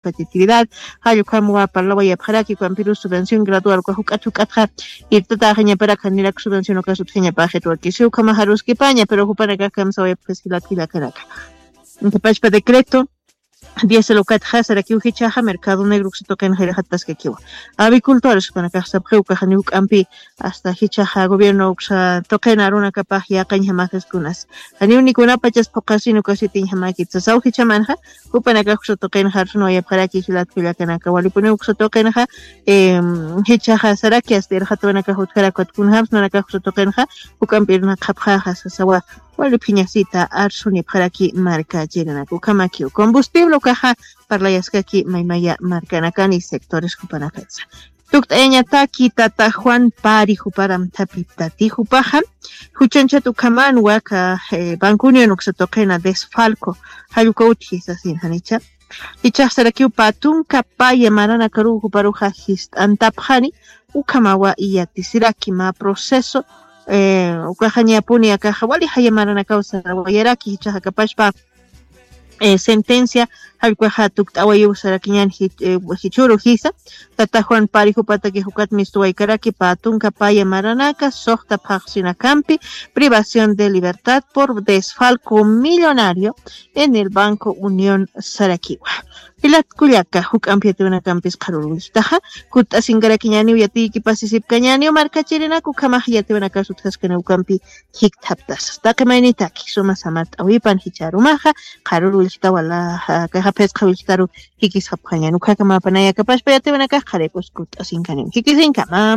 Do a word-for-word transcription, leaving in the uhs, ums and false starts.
competitividad, jallukhamwa parlawayapxaraki ukampirus subvención gradual uka juk'at juk'atxa irtataxañaparak janirak subvención ukasutjañapaxitwakisi ukhamaxaruskipaña, pero jupanakax kamsawayapxis jilat jillakanaka. Pachpa decreto diez locatxa sarakiw jichhaxa mercado negro uksatuqin jayraxataskakiwa. Avicultores jupanakax sapxiw ukaxaniw k'ampi hasta jichhaxa gobierno uksatuqin arunakapax yaqañjamakiskunas janiw nikunapachas phuqasin ukasitiñjamakitsasaw jichhamanxa. Jupanakax uksatuqin jarsunawayapxaraki jilat jillakanaka walipuniw uksatuqinxa jichhaxa saraki asta irxatawanakax utjarakwatkunjamsnanakax uksatuqinxa juk'ampirnaqxapxaxa sasawa. Wali phiñasita arsunipxaraki marka chirinaka ukhamakiw combustible ukaxa parlayaskaki maymaya markanakani sectores jupanakatsa. Tukt'ayañataki tata Juan Pari juparam thapiptati jupaxa juchanchat ukhaman waka banco unión uksatuqina desfalco jallukawtji sasin janicha. Ichaxsarakiw patunka paya maranakaruw juparuxa jist'antapxani ukhamawa iyatisiraki ma proceso ukaxañapuni akaxa wali jaya maranakaw sarawayaraki jichaxakapashpa sentencia jallkwaxa tukt'awayiw sarakiñan jichuru jisa. Tata Juan Pari jupataki jukat mistuwaykaraki patunka paya maranaka soxta phaxsinakampi privación de libertad por desfalco millonario en el banco unión sarakiwa. Jilatkullaka juk'ampi yatiwanakampis qharurwilltaxa kutt'asinkarakiñaniw yatiykipasisipkañaniw markachirinaku ukhamax yatiwanakasutjaskaniwkampi jikthaptasas taqimaynitaki suma samart'awipan jicharumaxa qharurwilltawala kaxaphisqhawilltaru jikisxapxañan ukhakamapanayakapashpa yatiwanakax qharip'us kutt'asinkaniw jikisinkama.